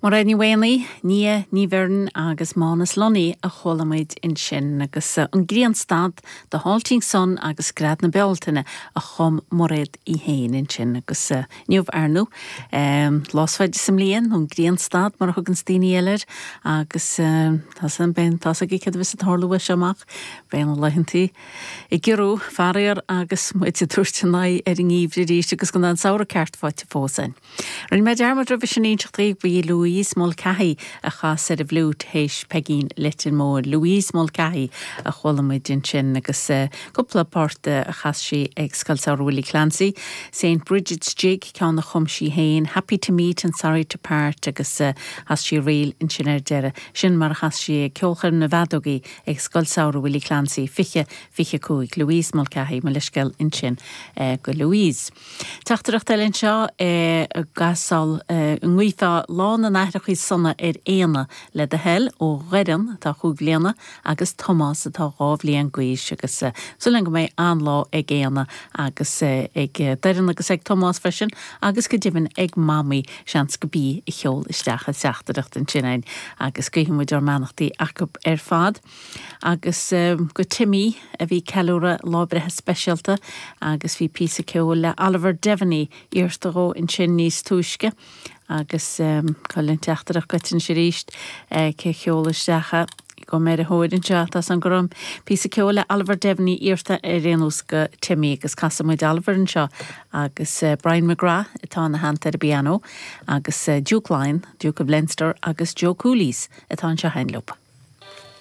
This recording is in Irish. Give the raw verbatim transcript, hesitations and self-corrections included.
Mairéad Ní Mhaonaigh, Nia Ní Bheirn agus Mánas Lunny a chuala muid ansin agus an Grianstad The Halting Sun agus Scread na Bealtaine a chum Mairéad í féin ansin agus inniu ar ndóigh lá is faide sa mbliain an Grianstad mar a thugann daoine eile air agus tá an ben tá ag cad vis tarlú amach beidh na laethantaí ag giorrú faraor agus muid ag tabhairt aghaidh ar an ngeimhreadh arís agus gan an samhradh ceart faighte fós againn. Rinne mé dearmad roimhe sin inseacht bhí Louise Mulcahy a chas ar an bhfliúit théis Peigín Leitir Móir. Louise Mulcahy a chuala muid ansin agus cúpla port a chas sí ag Scoil Samhraidh Willie Clancy, St. Bridget's Jig ceann a chum sí féin, Happy to Meet and Sorry to Part agus chas sí ríl ansin ar deireadh. Sin mar a chas sí ag ceolchoirm na bhfeadógaí ag Scoil Samhraidh Willie Clancy fiche fiche cúig Louise Mulcahy mo leithscéal ansin go Louise. Teachtaireacht eile anseo gasal nguifá lá na n-aithreacha sona ar Éanna le do thoil ó Dhoireann atá cúig bliana agus Tomás atá dhá bhliain d'aois agus súil go mbeidh an-lá ag Éanna agus ag Doireann agus ag Tomás freisin agus go deimhin ag mamaí seans gurb í a sheol isteach an teachtaireacht ansin agus guímid ár mbeannachtaí acu ar fad. agus go Timmy a bhí ceiliúradh lá breithe speisialta agus bhí píosa ceoil le Oliver Devaney iarrta dhó ansin níos túisce agus cá bhfuil an teachtaireacht goite arís cé sheol isteach go méirthóir anseo tá an grom píosa ceoil le Oliver Devaney iarrta ar aon nós go Timmy agus casfaimid Oliver anseo agus Brian McGrath atá ina theannta ar an bpianó agus Duke Line, Duke of Leinster agus Joe Coolies atá anseo féin leo.